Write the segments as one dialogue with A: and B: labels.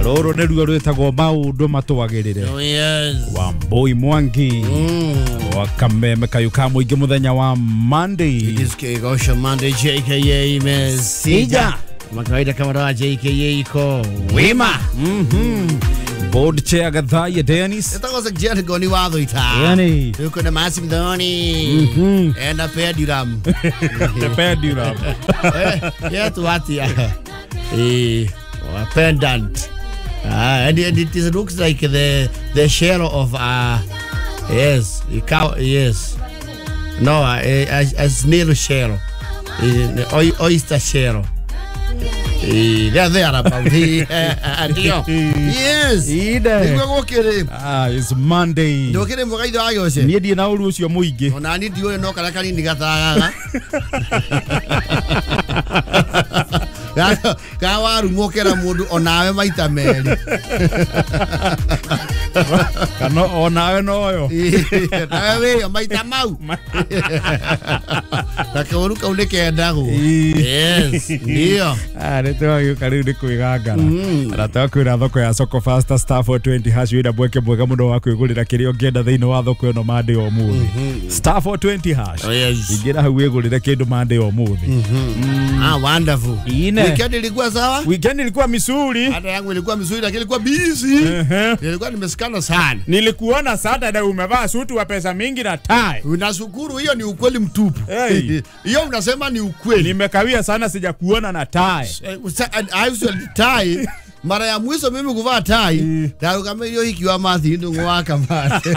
A: Rũrũ nĩruo rwĩtagwo maũndũ matwagĩrĩre.
B: Oh, yes.
A: Wambui Mwangi wa Kameme kayũ ka mũingĩ mũthenya wa Monday.
B: It is Kegosha Monday, JKA Mesija. Kama kawaida kama dawa JKA iko wima.
A: Board chair Gathaiya Dennis.
B: Etago se Goni watho ita.
A: Yani.
B: Yuko na masi mthoni. Enda pendulum.
A: The pendulum.
B: Yeah, to what yeah. A pendant. And it looks like the shell of yes, a cow, yes. No, a snail shell. Oyster shell. They're there about. Yes.
A: It's Monday. Niĩ ndirĩ na ũru ũcio mũingĩ.
B: Ona niĩ ndiũĩ no karĩa kanini gatagaga. Ka warumwo kera mũndũ onawe maita merĩ.
A: Kana onawe noyo.
B: Nawe wĩyo maita mau. Na kaũru kau nĩ kendagwo. Yes, ndio.
A: Nĩ twagĩũka rĩu nĩ kwĩgangara. Na twakwĩra thoko ya Soko Faster star 420 hash wĩna mweke mwega mũno wa kwĩgũrĩra kĩrĩa ũngĩenda thĩinĩ wa thoko ĩno Monday o mũthĩ. Star 420 hash. Ingĩra hau wĩgũrĩre kĩndũ Monday o mũthĩ.
B: Wonderful. Weekend ilikuwa sawa?
A: Weekend ilikuwa mizuri.
B: Hata yangu ilikuwa mizuri lakini ilikuwa busy. Nilikuwa nimesikana sana.
A: Nilikuona Saturday umevaa suti wa pesa mingi na tie.
B: Unashukuru, hiyo ni ukweli mtupu. Hiyo unasema ni ukweli.
A: Nimekawia sana sijakuona na tie.
B: I usually tie. Mara ya mwisho mimi kuvaa tai, kama hiyo ikiwa mathi ndo ngwaka mate.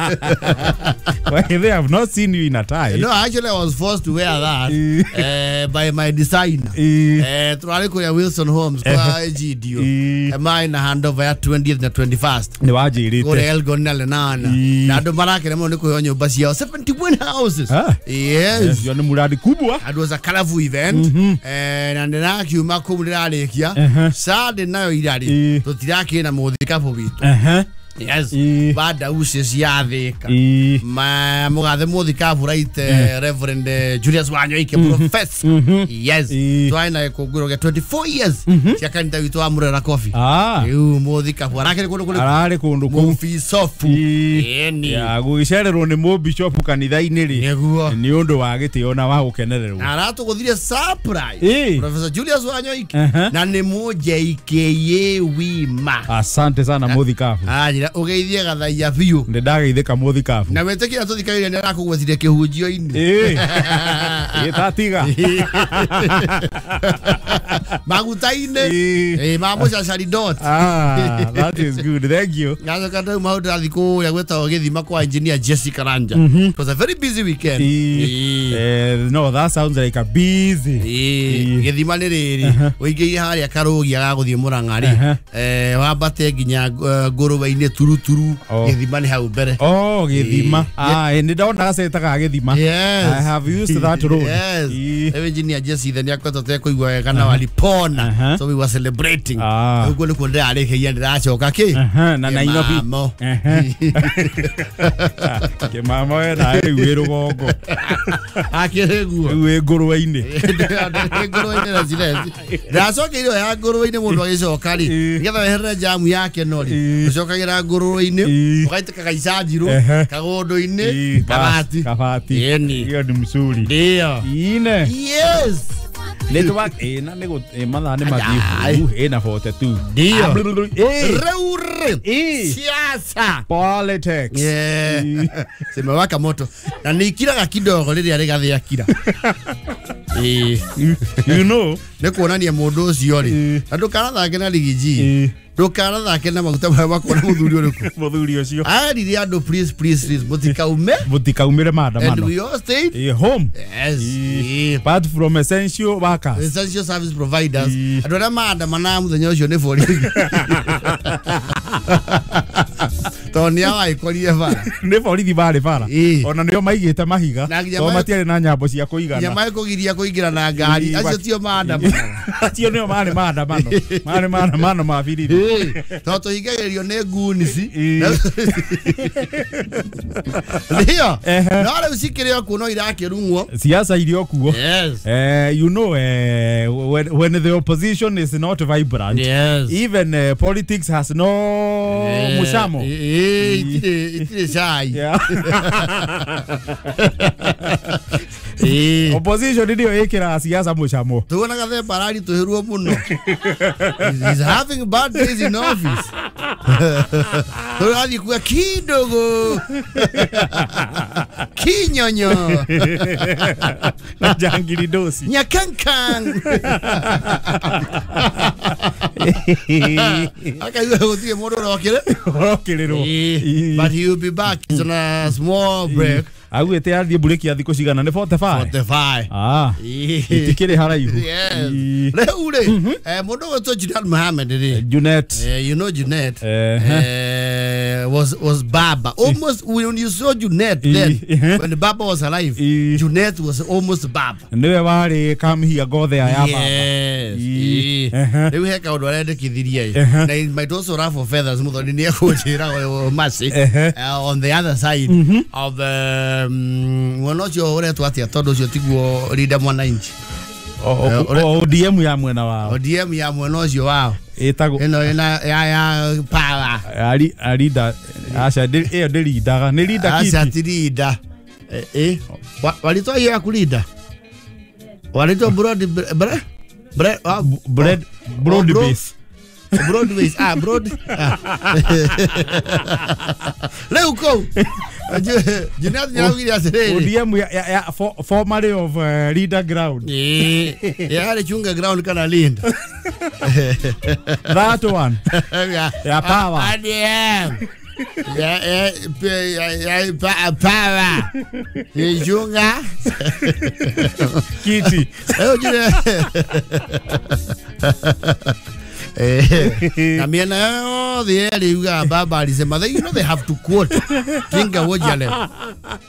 A: Well, they have not seen you in a tie.
B: No, actually I was forced to wear that by my designer. Twari kuya Wilson Homes kwa GDO. Mine na handover ya 20th na 21st.
A: Ni wajirite.
B: Kule Elgon na Lenana. Na ndo marakire muno ni kuheo nyumba ciao 71 houses. Yes.
A: Yo ni muradi kubwa.
B: It was a colorful event. Na ndirakiuma kuu ndirarikia. Saturday nayo irari. Tutirakire na muthikabu witu. Yes. Baada ucio ciathika. Ma mugathe muthikabu right Reverend Julius Wanyoike professor. Yes. Twai na kunguro gya 24 years. Cia kanitha witu wa Murera Coffee. Riu muthikabu arakire kundu kuri.
A: Arari kundu kuu.
B: Mubicobu. Eni.
A: Ya guicererwo ni mubicobu kanitha-ini ri. Ni undu wa gitio na wa gukenererwo.
B: Aratuguthire surprise. Professor Julius Wanyoike na ni mu JKA wima.
A: Asante sana muthikabu.
B: Ugeithie Gathaiya biũ.
A: Nĩ ndageithĩka muthikabu.
B: Na wetĩkĩra tũthikagĩrĩria nĩ arakũgwetire kĩhunjio-inĩ.
A: Tatiga.
B: Maguta-inĩ. Ma mũcacari dot.
A: That is good. Thank you.
B: Ngacoka ndau maũndũ ndathiĩ kũrĩa gwĩtagwo gĩthima kwa engineer Jessica Ranja. It was a very busy weekend.
A: No, that sounds like a busy.
B: Gĩthima nĩ rĩrĩ. Ũingĩire harĩa Karũgia ga gũthiĩ Mũrang'a rĩ. Wambate nginya ngũrũwe-inĩ turuturu. Gĩthima nĩ hau mbere.
A: Oh, gĩthima. Nĩ ndona gaceta ga gĩthima.
B: Yes.
A: I have used that road.
B: Yes. Engineer Jesse nĩ akoretwo tekũigua wega na walipona. So we were celebrating. Ũguo nĩkuo ndĩrarĩkĩria ndĩracoka kĩ?
A: Na Nairobi. Kĩmamo we na rĩu wĩ rũgongo.
B: Akĩrĩ guo.
A: Rĩu wĩ ngũrwe-inĩ.
B: Ngũrwe-inĩ na cireci. Ndacokeire ya ngũrwe-inĩ mũndũ agĩcoka rĩ. Nĩgetha weherere jamu yake no rĩ. Ũcokagĩra ngũrwe-inĩ ũgaitĩka gaicanjirũ kagũndũ-inĩ kabati.
A: Kabati. Hiyo ni mzuri.
B: Ndio.
A: Ine.
B: Yes.
A: Network na nĩ mathaa nĩ mathiĩ na 42.
B: Ndio. Rĩu siasa.
A: Politics.
B: Yeah. Simewaka moto. Na nikiraga kidogo rĩrĩa rĩgathĩa kira.
A: You know,
B: nĩ kuonania mũndũ ũcio rĩ. Na ndũkarathake na rigiji. Ndũkarathake na maguta marĩa makuona mũthuri ũrĩkũ.
A: Mũthuri ũcio.
B: Arire andũ please please please mũtikaume.
A: Mũtikaumĩre maandamano.
B: And we all stayed
A: home.
B: Yes.
A: Apart from essential workers.
B: Essential service providers. Andũ arĩa maandamanaga mũthenya ũcio nĩ borithi. Tondũ nĩ awaikorire bara.
A: Nĩ borithi barĩ bara. Ona nĩo maigĩte mahiga. Tondũ matiarĩ na nyambo cia kũigana.
B: Nginya magĩkũgiria kũingĩra na ngari. Acio tio maandamano.
A: Acio nĩo marĩ maandamano. Marĩ maandamano ma birithi.
B: Tondũ tũhingagĩrĩrio nĩ ngunici. Ndio. No rĩu cikĩrĩ o kuo no irakĩrung'wo.
A: Siasa irĩ o kuo.
B: Yes.
A: You know, when the opposition is not vibrant,
B: yes,
A: even politics has no mushamo.
B: Itire cai.
A: Opposition ndio ikira siasa mushamo.
B: Tuonaga Themba araritũhĩrwo mũno. He's having bad days in office. Tũrathiĩ kuga kidogo. Kinyonyo.
A: Na jangiri dosi.
B: Nyakankan. Akaigua gũtirĩ mũndũ ũrokĩre.
A: Ũrokĩrĩrwo.
B: But he will be back. He's on a small break.
A: Augĩte athiĩ mburĩki ya thikũ cigana nĩ 45.
B: 45.
A: Ah. Itikĩrĩ haraihu.
B: Yes. Rĩu rĩ, mũndũ ũgwĩtwo Junet Mohammed rĩ.
A: Junet.
B: You know Junet. Was Baba. Almost when you saw Junet then, when the Baba was alive, Junet was almost Baba.
A: Niwe warĩ kamhia ngothe ya Baba.
B: Yes. Rĩu he kaũndũ arendekithirie. Na it might also ruffle feathers mũthoni nĩ ekũnjĩra Mercy. On the other side of the mwena ũcio ũretwo atĩa tondũ ũcio tiguo Linda Mwananchi.
A: ODM ya mwena wao.
B: ODM ya mwena ũcio wao.
A: Ĩtagwo
B: ĩno ĩna ya power.
A: Ali Linda aca ĩyo ndĩrindaga nĩ Linda kiti.
B: Aca ti Linda. Walitwa hiyo ya kulinda. Walitwa broad bread
A: bread broad base.
B: Broadways, broad. Leo ko. Junet nĩaraugire atĩrĩrĩ.
A: ODM ya formerly of Linda ground.
B: Yarĩ chunga ground kana Linda.
A: That one. Ya power.
B: ODM. Ya power. Chunga.
A: Kiti.
B: Na miena yothe yerĩ yugaga baba alisema they, you know, they have to quote Tinga Wojale.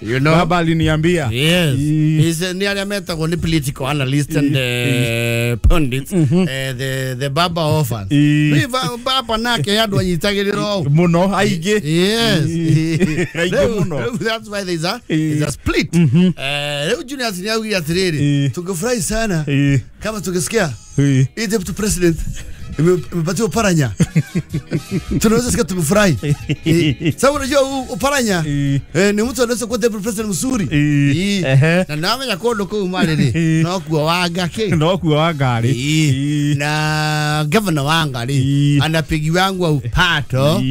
B: You know,
A: baba aliniambia.
B: Yes. He's nĩ arĩa metagwo nĩ political analyst and pundits. The baba orphans. Baba nake andũ anyitagĩrĩra
A: mũno aingĩ.
B: Yes.
A: Aingĩ mũno.
B: That's why there's a split. Rĩu Julius nĩ augire atĩrĩrĩ, tungefurahi sana kama tungesikia hii deputy president imepatiwa Oparanya. Tunaweza sikia tumefurahi. Sababu unajua Oparanya ni mtu anaweza kuwa deputy president mzuri. Na namenya kondo kuu mali ni no kuwa wanga ke.
A: No kuwa wanga ri.
B: Na governor wanga ri anapigiwa upato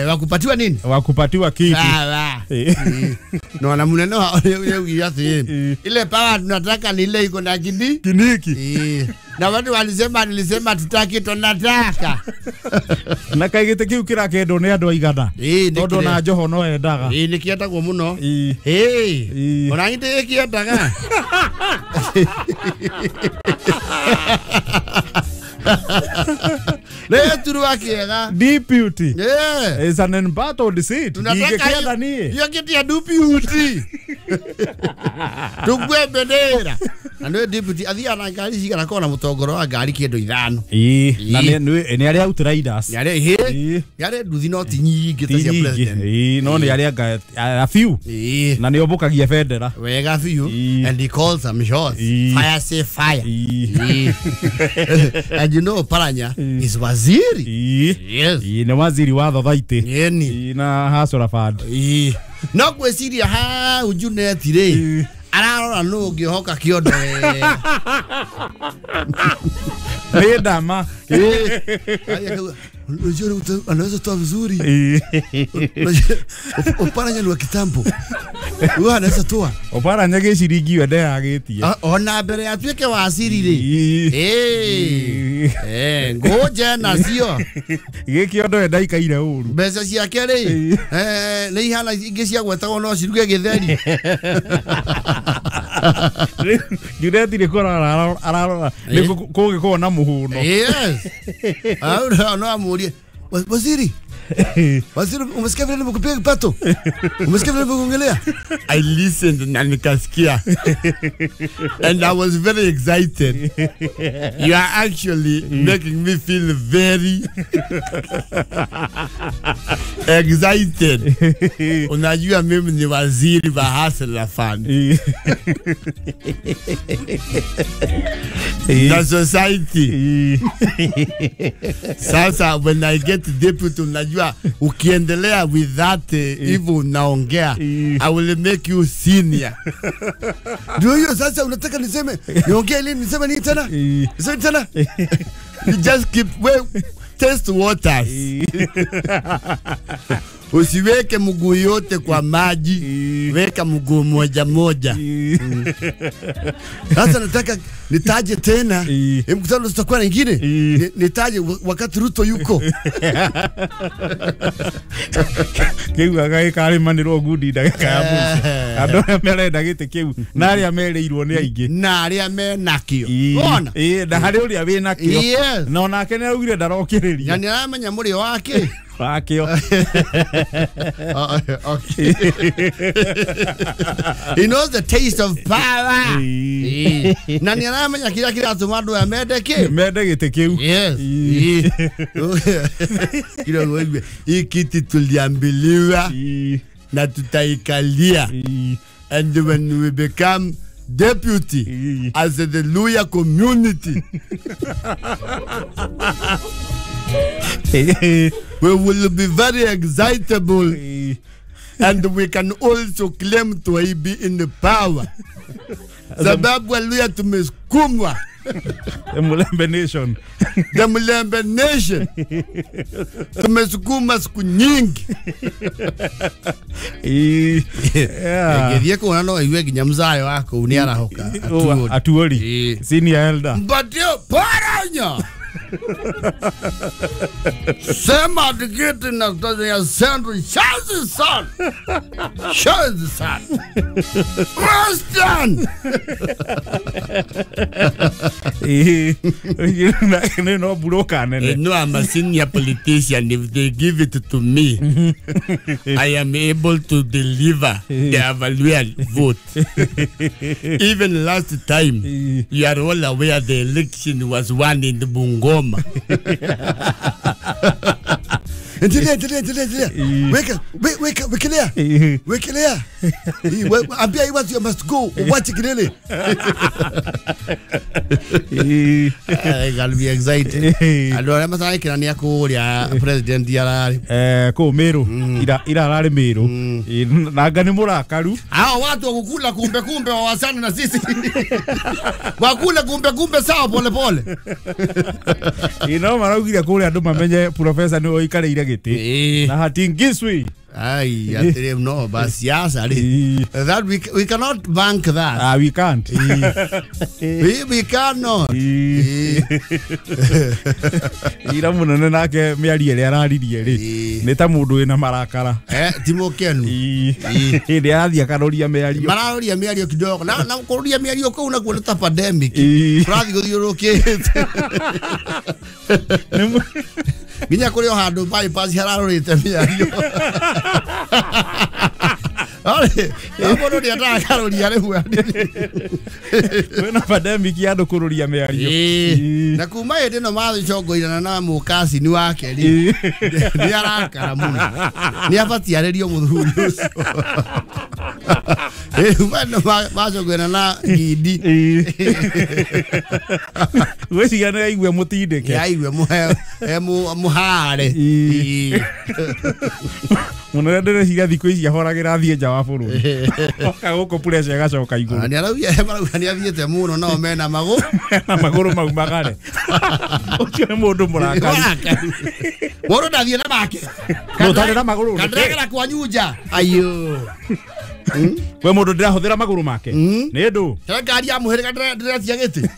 B: wa kupatiwa nini?
A: Wa kupatiwa kiti.
B: Sawa. No na munene wa ati ile power tunataka ni ile iko na
A: kiniki.
B: Na watu walisema nilisema tutaki tunataka.
A: Na kaigite kiu kirakendwo ni andu aigana. Tondu na Joho no endaga.
B: Ni kiendagwo muno. Ona ngite kiendaga. Leturwa kiega.
A: Deputy.
B: Yeah.
A: Is an embattled seat. Ndingikienda nie.
B: Hiyo kiti ya deputy. Tukue bendera. Na nĩ deputy athiaga na ngari cigana kona mũtongoro wa ngari kĩndũ ithano.
A: Na nĩ arĩa outriders.
B: Nĩ arĩa nĩ arĩa nduthi no ti nyingĩ ta cia president.
A: No nĩ arĩa a few. Na nĩ ombũkagia bendera.
B: Wega biũ. And he calls some shots. Fire say fire. And you know Oparanya is waziri. Yes.
A: Nĩ waziri wa thothaitĩ. Na Hustler Fund.
B: No gwĩciria hau Junet rĩ ararora nũ ũngĩhoka kĩondo wega.
A: Nĩ ndama.
B: Unajua anaweza toa vizuri. Oparanya ni wa kitambo. Huyo anaweza toa.
A: Oparanya gĩciringi we ndeyagĩtie.
B: Ona mbere atuĩke waziri rĩ. Ngoja nacio.
A: Gĩkĩondo we ndaikaire ũru.
B: Mbeca ciake rĩ. Nĩ ihana ingĩ cia gwetagwo no ciruge gĩtheri.
A: Junet nĩ kũrora ararora nĩ kũngĩkorwo na mũhũno.
B: Yes. No amurie. Waziri, Waziri, umesikia vile nimekupiga kipato? Umesikia vile nimekuongelea? I listened na nikasikia. And I was very excited. You are actually making me feel very excited. Unajua mimi ni waziri wa Hustler Fund. The society. Sasa when I get deputy, unajua ukiendelea with that hivyo unaongea, I will make you senior. Ndio hiyo sasa unataka niseme niongee lini, niseme nini tena? Niseme tena? You just keep well, test waters. Usiweke mguu yote kwa maji, weka mguu moja moja. Sasa nataka nitaje tena mkutano tutakuwa nyingine, nitaje wakati Ruto yuko.
A: Kiu agai kari manirwo ngundi ndagika ya mũico. Andũ arĩa marenda gĩtĩ kĩu na arĩa merĩirwo nĩ aingĩ
B: na arĩa menakĩo. Ona
A: na harĩ ũrĩa wĩnakĩo na onake nĩ araugire ndarokĩrĩria.
B: Na nĩ aramenya mũrĩo wake
A: wakĩo.
B: Okay. He knows the taste of power. Na nĩ aramenya kĩrĩa kĩratũma andũ aya mende kĩ?
A: Mende gĩtĩ kĩu.
B: Yes. Kila hii kiti tuliambiliwa na tutaikalia. And when we become deputy as the Luya community, we will be very excitable and we can also claim to be in the power. Sababu Luya tumesukumwa.
A: The Mulembe Nation.
B: The Mulembe Nation. Tumesukuma siku nyingi. Ngithie kuona no igue nginya mzayo wako ni arahoka.
A: Atuoli. Senior elder.
B: Mbatio paranya. Sema tikiti na ya Central Shazi son. Shazi son. Western.
A: No buroka nene.
B: No, I'm a senior politician. If they give it to me, I am able to deliver the Avalua vote. Even last time, you are all aware the election was won in the Bungoma. Endelea. Weka, wekelea. Wekelea. Ambia hii watu you must go. Uwache kelele. I gotta be excited. Andũ arĩa matarĩ nĩ akũrĩa president ararĩ.
A: Kũu Meru. Ira ararĩ Meru. Nanga nĩ mũrakaru.
B: Hao watu wa kukula kumbe kumbe wawasana na sisi. Wakula kumbe kumbe sawa pole pole.
A: Ino maraugire kũrĩa andũ mamenye professor nĩ oikarĩire gĩtĩ. Na hatingiswi.
B: Ai, atire no, but siasa that we cannot bank that.
A: Ah, we can't.
B: We cannot.
A: Ira munene nake mĩario ĩrĩa araririe rĩ nĩ ta mũndũ wĩna marakara.
B: Ti mũkenu.
A: Hĩndĩ arathiĩ akaroria mĩario.
B: Mararoria mĩario kidogo. Na kũroria mĩario kũu nakuo nĩ ta pandemic. Kũrathiĩ gũthiũrũrũkĩte. Nginya kũrĩ o handũ bypass hararorĩte mĩario. Ore, mũndũ nĩ atakaroria rĩu.
A: Kwĩna pandemic ya andũ kũrũria mĩario.
B: Na kuma hĩndĩ ĩno mathĩcongoirana na mũkacini wake rĩ, nĩ arakara mũno. Nĩ abatiĩ arĩrio mũthuri ũcio. Kuma ĩno macongoirana na Gidi.
A: Gwĩciria nĩ aigue mũtindĩke.
B: Nĩ aigue mũhare.
A: Mũnene ndĩreciria thikũ ici ahoragĩra athiĩ nja wa bũrũri. Oka gũkũ pressure ĩgacoka igũrũ.
B: Nĩ arauga marauga nĩ athiĩte mũno nao mena magũrũ.
A: Mena magũrũ maumagare. Ũcio nĩ mũndũ mũrakaru.
B: Mũndũ ndathiĩ na make.
A: Ndũtarĩ na magũrũ.
B: Kandĩragĩra kwanyu nja. Ayo.
A: We mũndũ ndĩrahũthĩra magũrũ make. Nĩ ndũ.
B: Kĩrĩa ngari ya mũhĩrĩga ndĩretia gĩtĩ.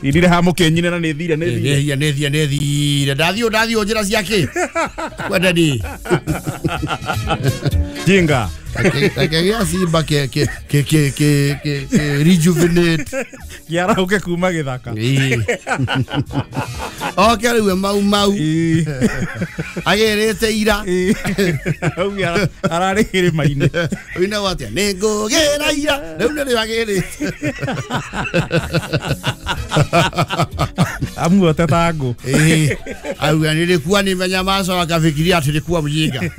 A: Irire ha mũkĩnyine na nĩ thire nĩ thire.
B: Nĩ thire. Ndathiĩ njĩra ciake. Kwenda ni.
A: Jinga.
B: Kagĩa simba ke rejuvenate.
A: Kĩarahũke kuma gĩthaka.
B: Oke rĩu mau mau. Agĩrĩte ira.
A: Auga ararĩ kĩrĩma-inĩ.
B: Ũinagwo atĩa? Nĩngũgĩra ira. Rĩu nĩrĩo agĩrĩte.
A: Amuote ta ngũ.
B: Auga nilikuwa nimenyamaza wakafikiria ati nilikuwa mjinga.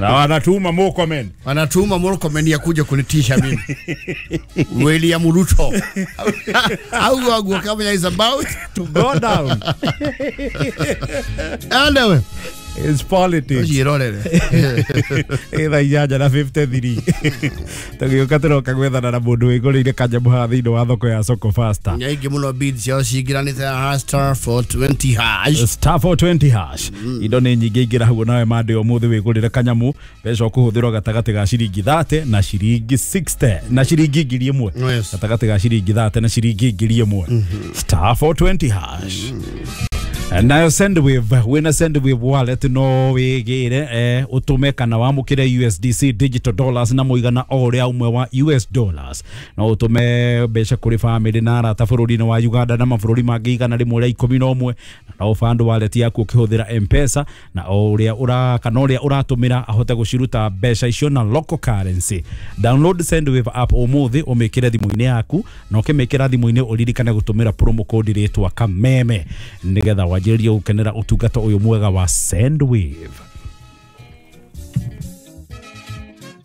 A: Na wanatuma Murkomen.
B: Wanatuma Murkomen ya kuja kunitisha mimi. William Ruto. Au wangu kama is about
A: to go down.
B: Anyway,
A: it's politics. Thaa 8:53. Tũgĩũka tũroka gwethana na mũndũ wĩgũrĩire kanyamũ haha thĩinĩ wa thoko ya Soko Faster.
B: Nyaingĩ mũno bid ciao cingĩranĩte star 420 hash.
A: Star 420 hash. Indo nĩ nyingĩ ingĩra hau nawe mande ũmũthĩ wĩgũrĩre kanyamũ mbeca ũkũhũthĩrwo gatagatĩ ga ciringi 30 na ciringi 60 na ciringi 1000. Gatagatĩ ga ciringi 30 na ciringi 1000. Star 420 hash. Nayo Sendwave, wina Sendwave wallet no wigire utume kana wamukire USDC digital dollars na muigana o uria umwe wa US dollars no utume mbeca kuri family na arata bururi-inĩ wa Uganda na mabũrũri mangĩ 111 na no fund wallet yaku ukihuthira M-Pesa na o uria ura kana uria uratumira ahote guciruta mbeca icio na local currency. Download Sendwave app umuthi umikire thimu-inĩ yaku na ukimikira thimu-inĩ uririkane gutumira promo code ritwa Kameme nigetha wanjĩrĩrie gũkenera ũtungata ũyũ mwega wa Sendwave.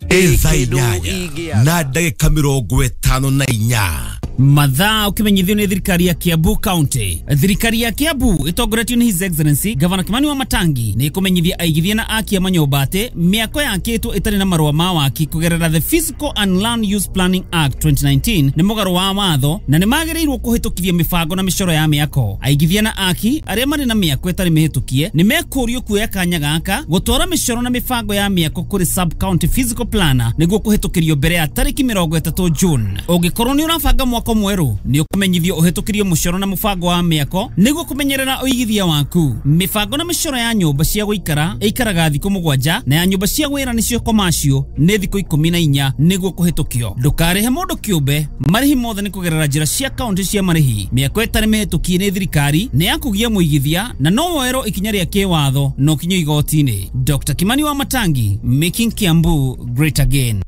C: Thaa 8 na ndagĩka 54.
D: Mathaa ukimenyithio ni thirikari ya Kiambu County. Thirikari ya Kiambu itongoretio ni His Excellency Governor Kimani wa Matangi ni ikumenyithia aigithia na aki a manyũmba atĩ mĩako yakĩtwo ĩtarĩ na marũa ma waki kũgerera the Physical and Land Use Planning Act 2019 nĩ mũgarũ wa watho na nĩ magĩrĩirwo kũhĩtũkithia mĩbango na mĩcoro ya mĩako. Aigithia na aki arĩa marĩ na mĩako ĩtarĩ mĩhĩtũkie nĩ mekũrio kuoya kanya gaka gũtwara mĩcoro na mĩbango ya mĩako kũrĩ sub county physical planner nĩguo kũhĩtũkĩrio mbere ya tarĩki 30 June. Ũngĩkorwo nĩ ũrabanga mwako mwerũ nĩ ũkũmenyithio ũhĩtũkĩrio mũcoro na mũbango wa mĩako nĩguo kũmenyerera ũigithia waku. Mĩbango na mĩcoro ya nyũmba cia gũikara ĩikaraga thikũ 7 na ya nyũmba cia wĩra nĩcio commercial nĩ thikũ 14 nĩguo kũhĩtũkio. Ndũkarĩhe mũndũ kĩũmbe, marĩhi mothe nĩ kũgerera njĩra cia kaunti cia marĩhi. Mĩako ĩtarĩ mĩhĩtũkie nĩ thirikari nĩ ya kũgia mũigithia na no woerwo ikinya rĩa kĩwatho no kinyio igoti-inĩ. Dr. Kimani wa Matangi, making Kiambu great again.